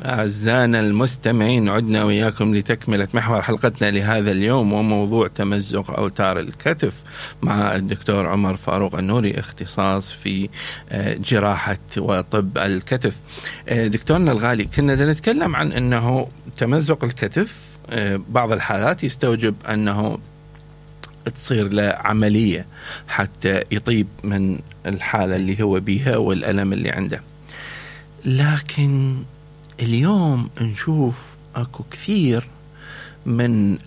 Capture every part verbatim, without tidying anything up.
أعزائنا المستمعين، عدنا وياكم لتكملة محور حلقتنا لهذا اليوم وموضوع تمزق أوتار الكتف مع الدكتور عمر فاروق النوري، اختصاص في جراحة وطب الكتف. دكتورنا الغالي، كنا نتكلم عن أنه تمزق الكتف بعض الحالات يستوجب أنه تصير له عملية حتى يطيب من الحالة اللي هو بيها والألم اللي عنده، لكن اليوم نشوف اكو كثير من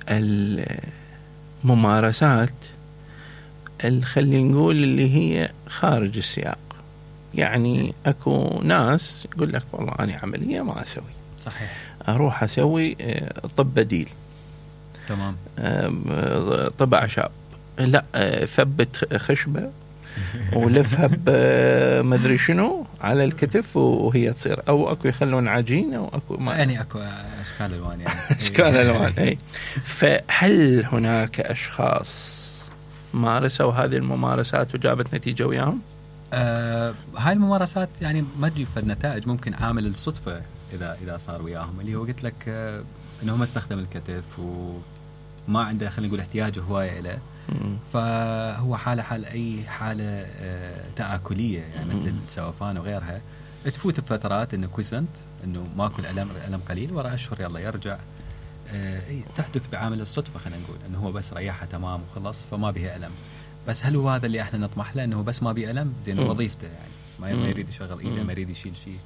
الممارسات اللي خلينا نقول اللي هي خارج السياق. يعني اكو ناس يقول لك والله انا عملية ما اسوي، صحيح، اروح اسوي طب بديل، تمام، طب اعشاب، لا ثبت خشبة ولفها بمدري شنو على الكتف وهي تصير، او اكو يخلون عجين، او اكو ما يعني اكو اشكال الوان يعني اشكال الوان اي. فهل هناك اشخاص مارسوا هذه الممارسات وجابت نتيجه وياهم؟ آه هاي الممارسات يعني ما تجيب النتائج، ممكن عامل الصدفه اذا اذا صار وياهم، اللي هو قلت لك آه انه ما استخدم الكتف وما عنده خلينا نقول احتياج هوايه له، فهو حالة حال أي حالة تآكلية يعني مثل السوفان وغيرها، تفوت بفترات إنه كويسنت إنه ماكل ألم ألم قليل، وراء أشهر يلا يرجع. تحدث بعامل الصدفة، خلينا نقول إنه هو بس ريحها تمام وخلص فما بها ألم. بس هل هو هذا اللي إحنا نطمح له، إنه بس ما بيه ألم زين وظيفته يعني ما يريد يشغل إيده، ما يريد يشيل شيء؟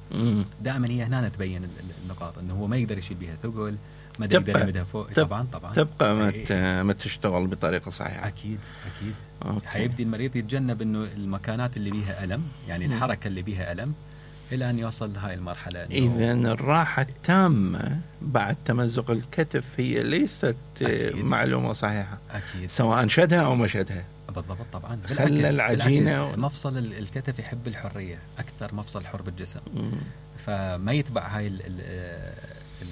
دائما هي هنا تبين النقاط إنه هو ما يقدر يشيل بها ثقل، ما يقدر يمدها فوق. طبعا طبعا تبقى ما ما تشتغل بطريقه صحيحه. اكيد اكيد. حيبدي المريض يتجنب انه المكانات اللي بيها الم، يعني الحركه اللي بيها الم، الى ان يوصل لهاي المرحله. اذا الراحه التامه بعد تمزق الكتف هي ليست أكيد. معلومه صحيحه اكيد، سواء شدها او ما شدها. بالضبط طبعا. خلى العجينه و... مفصل الكتف يحب الحريه اكثر مفصل حر بالجسم، م. فما يتبع هاي ال ال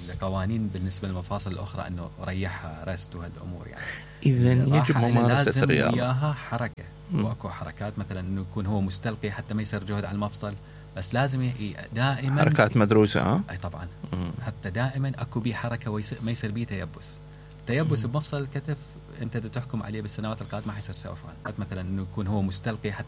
القوانين بالنسبة للمفاصل الأخرى إنه ريحها رست وهالأمور يعني. إذن يجب ممارسة الرياضة، وياها حركة، وأكو حركات مثلا إنه يكون هو مستلقي حتى ما يصير جهد على المفصل، بس لازم دائما حركات مدروسة. ها؟ أي طبعا. مم. حتى دائما أكو بيه حركة ويصير ما يصير بيه تيبس. تيبس مم. بمفصل الكتف أنت تحكم عليه بالسنوات القادمة حيصير سوفان. مثلا إنه يكون هو مستلقي حتى